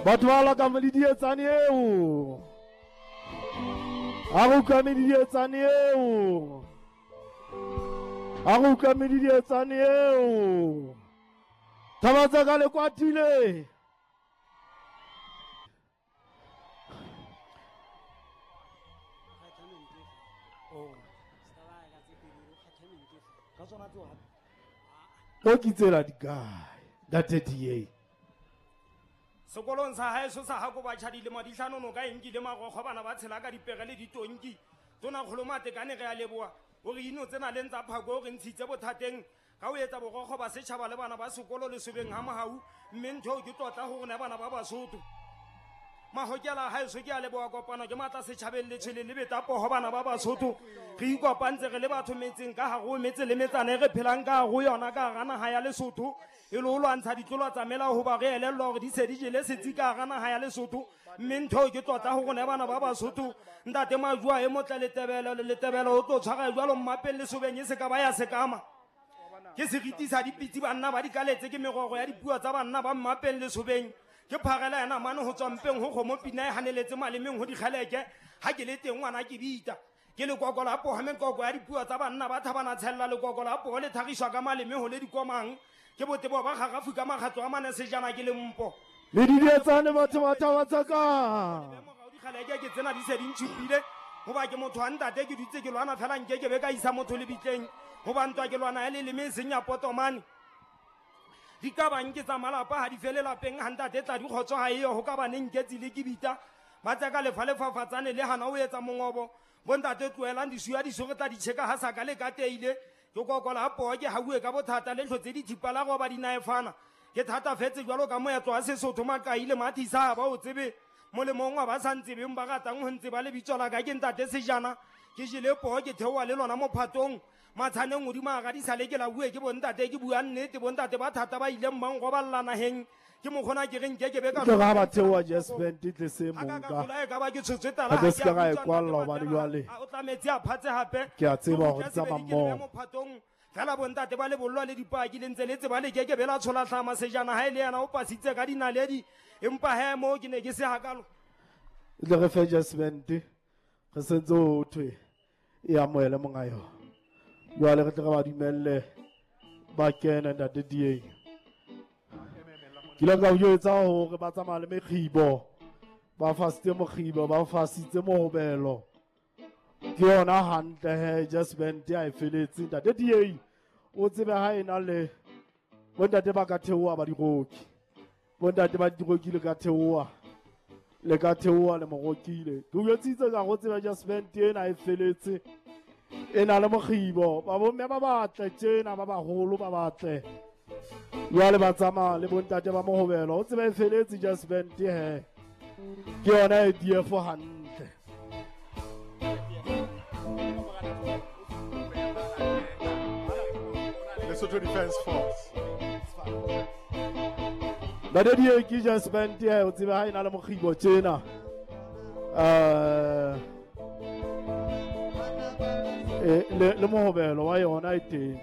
Batho ba la ka medidietsane eo. A re utlwa medidietsane eo. A re utlwa medidietsane eo. Thaba tsa ka le kwatile. O ke tsela di kae ntate DA? Sekolong sa haeso sa hako batjha dilemo di hlano noka e nkile marokgo bana ba tshela ka dipere le ditonki. Tonakgolo Matekane re a leboha o re ino tsena leng tsa phako o re ntshitse bothateng ka ho etsa borokgo ba setjhaba le bana ba sekolo lesobeng ha mohau mme ntho eo ke tlotla ho rona bana ba Basotho. Mahokela haeso ke a leboha kopano ke matla setjhabeng letshwele le beta poho bana ba Basotho. Re ikopantse re le batho metseng ka hare ho metse le metsana e re phelang ka hare ho yona ka hara naha ya Lesotho e le ho lwantsha ditlolo tsa melao hoba re elellwa hore di se di jele setsi ka hara naha ya Lesotho mme ntho eo ke tlotla ho rona bana ba Basotho. Ntate Majua e motle letebelo letebelo o tlo tshwara jwalo mmapeng lesobeng e se ka ba ya sekama. Ke seriti sa dipitsi banna ba di kaletse ke merogo ya dipuo tsa banna ba mmapeng lesobeng. Ke pharela ya namane ho tswa mpeng ho kgomo pina e haneletse malemeng ho dikgeleke ha ke le teng ngwana ke bita. Ke lekoko la poho mekoko ya dipuo tsa banna ba thabana tshella lekoko la poho le thagiswa ka maleme ho le dikomang. Ke botebo ba gagafu ka makgatlo a mane sejana ke lempo. Le didietsane batho ba thaba tsa ka. Dikgeleke ke tsena di se di ntshupile hoba ke motho wa ntate ke dutse ke lwana fela nke ke be ka isa motho lebitleng hoba ntwa ke lwana ya leleme e seng ya potomane. Di ka bang ke tsa malapa ha di fele lapeng ha ntate tla di kgotso ha eyo ho ka baneng ke tsile ke bita ba tseka lefa lefafatsane le hana o etsa mongobo. Bontate tlohelang disuya diso re tla di tjheka ha sa ka le ka teile. Ke kokola ha poho ke hauwe ka bothata le hlotse dithipa la roba dinaefana. Ke thatafetse jwalo ka moetlo wa Sesotho Maqai le Mathisa ha ba o tsebe. Molemong wa ba sa ntsebeng ba ratang ho ntseba lebitso la ka ke ntate Sejana. Ke jele poho ke theoha le lona mophatong. Matshaneng hodimo a radisa le ke la bue ke bontate ke bua nnete bontate ba thata ba ileng ba nroballa naheng. Ke mokgona ke re nke ke be ka Ke ga ba theoha Jazz Band tle se Ha ka mong ka ka. tlola e ka ba ke tshotswe tala Ha ke ha se ke ka a ra e utlwa kwalla ntate hobane Matela, jwale a o tlametse a phatse hape. Ke a tseba Ke hore utlwa tsamaya sebedi ke le mmoho. mophatong. Fela bontate ba lebollwa le dipaki le ntse le tseba le ke ke be la tshola hlama sejana ha e le yena o pasitse ka dinaledi empa he moo ke ne ke se hakalo. Tle re fe Jazz Band re sentse ho thwe e amohele monga yona. Jwale re tle re ba dumelle ba kene ntate DA. Ke ile ka o jwetsa hore ba tsamaya le mekgibo, ba fasitse mokgibo, ba fasitse mohobelo. Ke yona hantle he Jazz Band ha e feletse ntate DA. O tsebe ha ena le bontate ba ka theoha ba diroki. Bontate ba diroki le ka theoha. Le ka theoha le morokile. Ke o jwetsitse ka go tseba Jazz Band ena e feletse. E na le mokgibo, ba bomme ba batle tjena ba baholo ba batle. Jwale ba tsamaya le bontate ba mohobelo. O tsebe e feletse Jazz Band he. Ke yona e DF hantle. Lesotho Defence Force. Ntate DA ke Jazz Band he, o tsebe ha e na le mokgibo tjena. Le mohobelo wa yona e teng.